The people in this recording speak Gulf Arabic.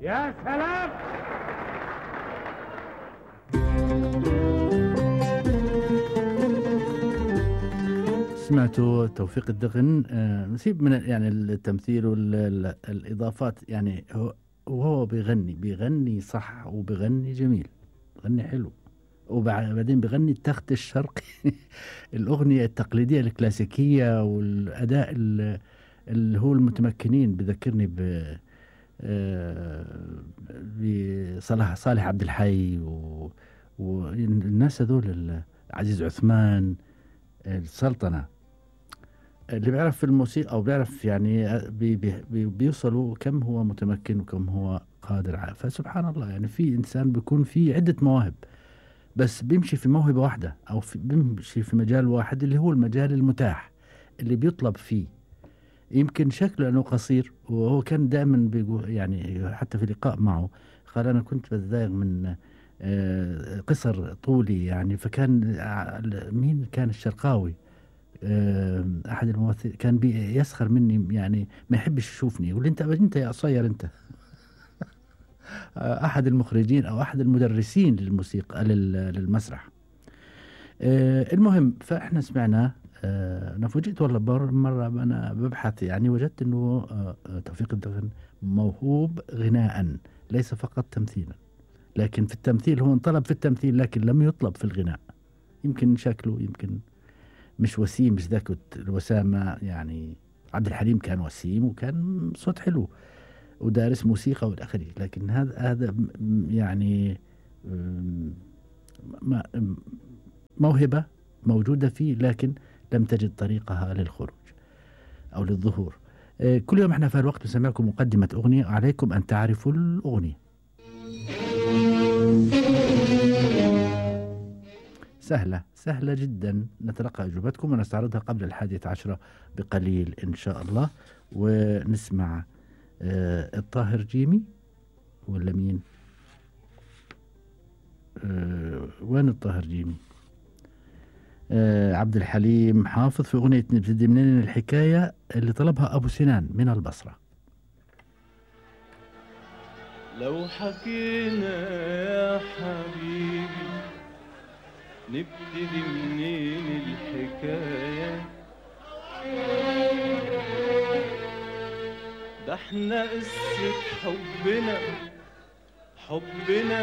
يا سلام. سمعتوا توفيق الدغن. نسيب من يعني التمثيل والإضافات، يعني وهو بيغني صح وبيغني جميل، بيغني حلو، وبعدين بيغني التخت الشرقي الأغنية التقليدية الكلاسيكية، والأداء اللي هو المتمكنين. بذكرني صالح عبد الحي والناس هذول، عزيز عثمان، السلطنة. اللي بيعرف في الموسيقى أو بيعرف يعني بيوصلوا كم هو متمكن وكم هو قادر. فسبحان الله، يعني في إنسان بيكون في عدة مواهب، بس بيمشي في موهبة واحدة أو بيمشي في مجال واحد اللي هو المجال المتاح اللي بيطلب فيه. يمكن شكله أنه قصير، وهو كان دائما بيقول، يعني حتى في لقاء معه قال أنا كنت بتضايق من قصر طولي، يعني فكان مين كان الشرقاوي، أحد الممثلين كان يسخر مني، يعني ما يحبش يشوفني، يقول أنت يا قصير أنت. أحد المخرجين أو أحد المدرسين للموسيقى للمسرح. المهم، فإحنا سمعنا. أنا فوجئت والله مرة أنا ببحث، يعني وجدت أنه توفيق الدغن موهوب غناء، ليس فقط تمثيلا. لكن في التمثيل هو انطلب في التمثيل، لكن لم يطلب في الغناء. يمكن شكله يمكن مش وسيم، مش ذاك الوسامة. يعني عبد الحليم كان وسيم وكان صوت حلو ودارس موسيقى والآخره، لكن هذا يعني موهبة موجودة فيه، لكن لم تجد طريقها للخروج أو للظهور. كل يوم احنا في الوقت بنسمعكم مقدمة أغنية، عليكم أن تعرفوا الأغنية. سهلة جدا. نتلقى أجوبتكم ونستعرضها قبل 11 بقليل إن شاء الله. ونسمع الطاهر جيمي ولا مين؟ وين الطاهر جيمي؟ عبد الحليم حافظ في أغنية نبتدي منين الحكاية، اللي طلبها أبو سنان من البصرة. لو حكينا يا حبيبي نبتدي منين الحكاية، ده احنا قصة حبنا